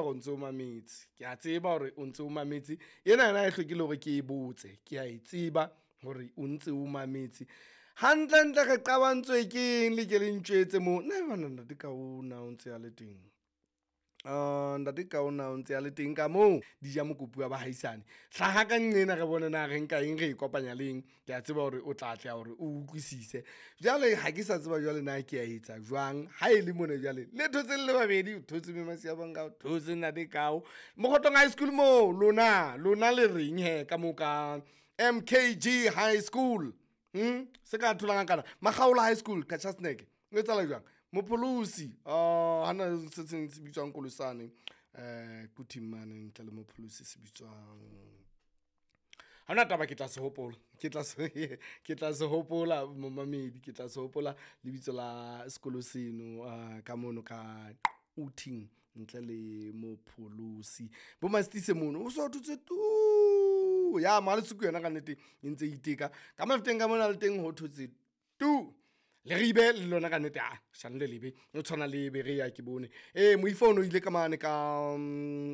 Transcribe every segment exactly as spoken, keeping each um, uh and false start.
hore o ntse o mametse, ke a tseba hore o ntse o mametse. Ena yona ha e hlokile hore ke e botse, ke a e tseba hore o ntse o mametse. Hantlentle re qabantswe ke eng le ke le ntjwetse moo? Nna banna ntate Kao na o ntse a le teng? Ntate Kao na o ntse a le teng ka moo? Di ja mokopu wa bahaisane. Hlaha ka nqena re bone na re nka eng, re e kopanya le eng. Ke a tseba hore o tla atleha hore o utlwisise. Jwale ha ke sa tseba jwale na ke a etsa jwang ha e le mona jwale le thotse le le babedi. O thotse mme Masiyabonga, o thotse ntate Kao. Mokgotlong High School moo lona, lona le reng hee ka moo ka M K G High School? Hmm? Se ka tholang kana Makgaola High School, Qacha's Nek. O etsahala jwang? Mopholosi hana se seng se bitswang Kolosane eh Quthing mane ntle le Mopholosi se bitswang. Ha hona taba, ke tla se hopola. Ke tla se ke tla se hopola momamedi, ke tla se hopola lebitso la sekolo seno ka mono ka Quthing ntle le Mopholosi. Bo Mastise mono o so thotse tu. Ya Malesoko yona ka nnete e ntse e iteka. Ka Mafeteng ka mona le teng ho thotse tu. Leribe le lona ka nnete, ah shano le lebe o tshwana le Berea ke bone. Eh Moifo o ile ka mane ka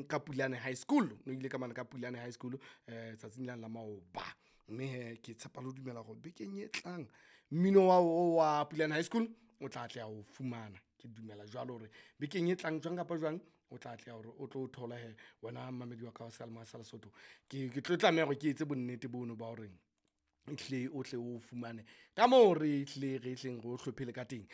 ka Pulane High School, o ile ka mane ka Pulane High School eh tsatsing lane la maoba. Mme hee ke tshepa le ho dumela hore bekeng e tlang mmino wa wa Pulane High School o tla atleha ho fumana. Ke dumela jwalo hore bekeng e tlang jwang kapa jwang o tla atleha hore o tlo thola hee wena mmamedi wa ka wa seyalemoya sa Lesotho. Ke ke tlo tlameha hore ke etse bonnete bono ba hore ehlile o tle o fumane ka moo re hlile re hleng re o hlophele ka teng.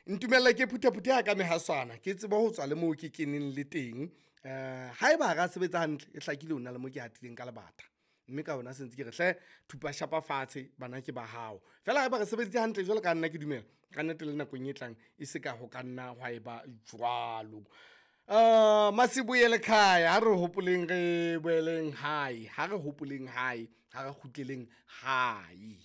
Ntumelle ke phuthaphuthi ya ka mehaswana, ke tsebe ho tswa le moo ke keneng le teng. Eh haeba ha ra sebetsa hantle, e hlakile ho na le mo ke hatileng ka lebata. Mme ka hona se ntse ke re hle thupa shapa fatshe bana ke ba hao. Feela haeba re sebeditse hantle jwalo ka nna ke dumela, ka nnete le nakong e tlang e se ka ho ka nna hwa eba jwalo. Uh, Masibuye lekhaya, ha re hopoleng re boeleng hae, ha re hopoleng hae, ha re kgutleleng hae.